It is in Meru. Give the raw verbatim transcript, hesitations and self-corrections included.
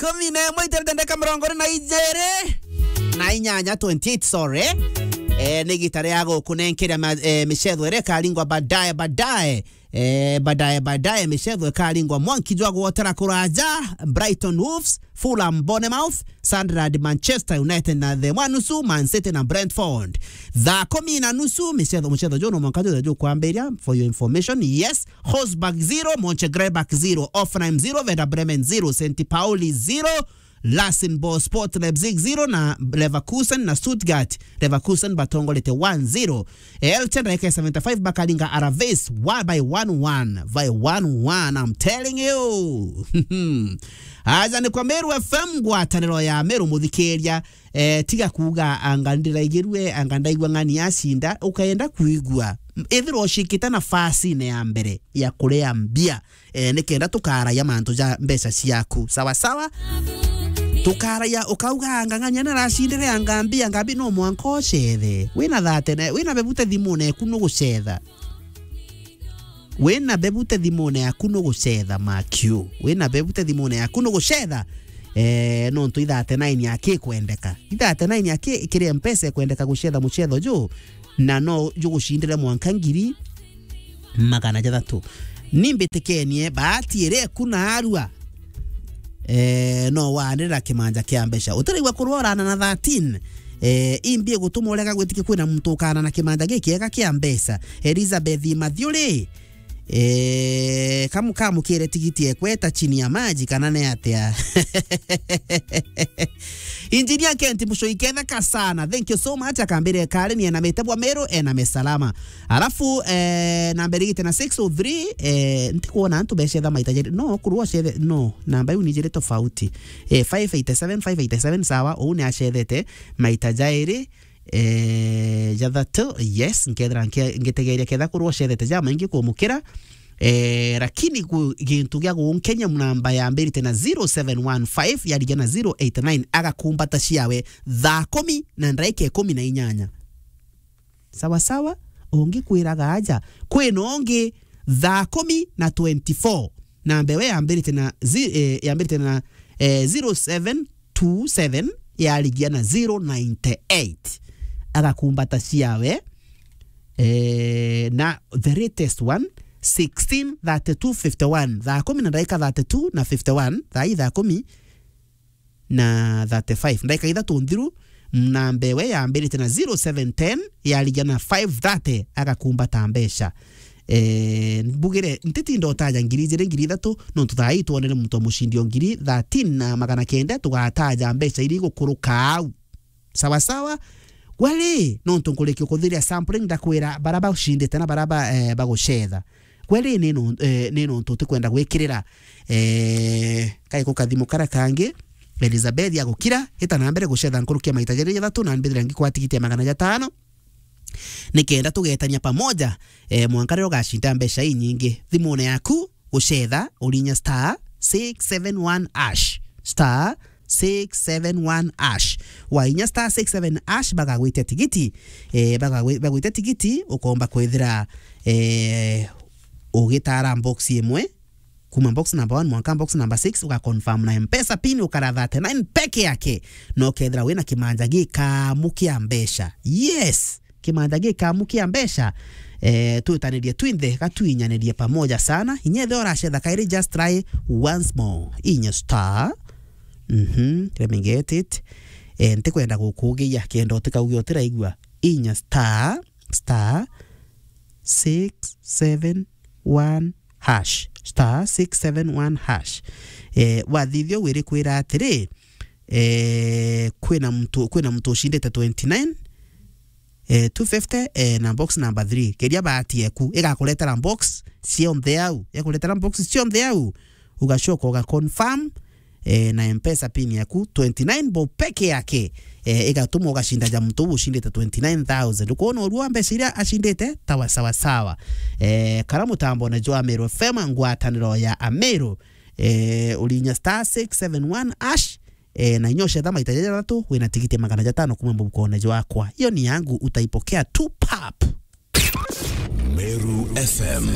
kumi na imwe iterete ndeka mirongo iri na ijiri na inyanya, twenty-eight, sorry. Eh, ni gita ria gukunenkeria ma-, eh, micetho iria ikaringwa baadaye, baadaye. Eh, baadaye, baadaye, micetho ikaringwa mwanki jwa gwotera kuraja, Brighton Wolves, Fulham Bournemouth, Sunderland Manchester United na the mwanusu, Man City na Brentford. Thaa kumi na nusu, micetho, mucetho juu no mwanka juu jukwambiria, for your information, yes, Wolfsburg zero, Mönchengladbach zero, Hoffenheim zero, Werder Bremen zero, Saint Pauli zero, Rasenball Sport Leipzig zero na Leverkusen na Stuttgart. Leverkusen batongorete one zero. Elche ndagika ya seventy-five bakaringa Alaves one by one one. By one one, I'm telling you. Aja ni kwa Meru F M, ngwataniro ya Meru, muthikiria. Eh, tiga kuuga anga ndiraigirue, anga ndaigua ng'ani acinda, ukaenda kuigua. Ithirwa ucikite nafasine ya mbere ya kuria mbia, eh, nikenda tukaraia mantu ja mbeca ciaku. Sawa sawa? Tukaraia, ukauga anga ng'ania naracindire anga mbia, anga mbia no mwanka ucethe. Wina thate na, wina bebute thimune eku nugucetha. Wina bebute thimune yaku nugucetha, makiu. Wina bebute thimune yaku nugucetha. Eh, nontu i thirty-nine yaki ikwendeka. I thirty-nine yaki ikiri mpesa ikwendeka gucetha mucetho ju. Na no jugucindire mwanka ngiri magana jathatu. Ni mbitikenie, bahati iri eku naarua. Eh, no wanirira kimanja kia mbeca. Utiraigua kurwa urana na thirteen. Eh, imbi igutuma urega gwitikia kwina muntu ukana na kimanja gikiega kia mbeca. Elizabeth Mathiuri. Eh, kamu-, kamukire tigiti ekweta chini ya maji kana ni atia? Engineer Kent Mucui, ketheka sana. Thank you so much. Akambire kari ni enamite bwa Meru, ename salama. Alafu, eh, namba irigite na six oh three, eh, ntikuona antu becetha maita jeri. No, kurwa cethe, no, namba iu ni jiri tofauti. Eh, five eighty-seven, five eighty-seven, sawa, uu ni acethete maita jairi, eh, jathatu, yes, nkethira nkia-, ngitegeria ketha kurwa cethete jamaingi kumukira. Eh, lakini ku-, gintu gia gunkenya, namba yambirite na zero seven one five, yarigia na zero eight nine, agakumbata ciawe thaa kumi na ndaika ikumi na inyanya. Sawa sawa, ungi kwiraga aja. Kwina ungi thaa kumi na twenty-four. Namba iwe yambirite na zi-, eh, yambirite na, eh, zero seven two seven, yarigia na zero ninety-eight. Agakumbata ciawe, eh, na the latest one, sixteen thirty-two fifty-one. Thaa kumi na ndaika thirty-two na fifty-one, thaa i thaa kumi na thirty-five. Ndaika ithatu nthiru, namba iwe yambirite na zero seven ten, yarigia na five thirty, agakumbata mbeca. Eh, mbugire, ntitinda utaja ngiri ijiri, ngiri ithatu, nontu thaa ii twonere muntu wa mucindi o ngiri thirteen na magana kenda, tugataja mbeca iria igukuruka au. Sawa sawa? Gweri, nontu nkurikia kuthiria sampling, ndakwira bara baucindite na bara ba, eh, bagucetha. Gweri ni no-, eh, ni nontu utikwenda gwikirira, eh, kaiko kathimu kara kangi, Elizabeth agukira, ita na mbere gucetha nkuruki ya maita jeri jathatu na mbithira ngikwata tigiti ya magana jatano. Nikenda tugetania pamoja, eh, mwanka riria ugacinda mbeca inyingi. Thimune yaku, gucetha, urinya star six seven one hash. Star six seven one hash. Wainya star six seven hash, bagagwitia tigiti. Eh, bagagwi-, bagwitia tigiti, ukomba kwithira, eh, ugitara box imwe, kuma box number one mwanka box number six, uga confirm na M-Pesa pin, ukara thirty-nine peke yake, na ukethira wina kimanja gikamu kia mbeca. Yes! Kimanja gikamu kia mbeca. Eh, twitanirie twinthe, gatwinyaniririe pamoja sana. Inya ethira uracetha kairi, just try once more. Inya star. Mhm, let me get it. Eh, ntikwenda gukugiia, kenda utikauge utiraigua. Inya star, star, six seven one hash. Star six seven one hash. Eh, wathithia ugu irikwira atiri, eh, kwina muntu, kwina muntu ucindite twenty-nine, eh, two fifty, eh, na box number three. Keria bahati eku, igakuretera box cionthe au. Igakuretera box cionthe au. Ugacoka uga confirm, eh, na M-Pesa pin yaku, twenty-nine bob peke yake, eh, igatuma ugacinda ja muntu uu ucindite twenty-nine thousand. Ukwona urua mbeca iria acindite? Tawa sawa sawa. Eh, kara mutambone jwa Ameru F M, ngwataniro ya Ameru, eh, urinya star six seven one hash, eh, na inya ucetha maita jathatu, wina tigiti ya magana jatano kuma mubukone jwakwa. Iyo ni yangu, utaipokea tu pap. Meru F M.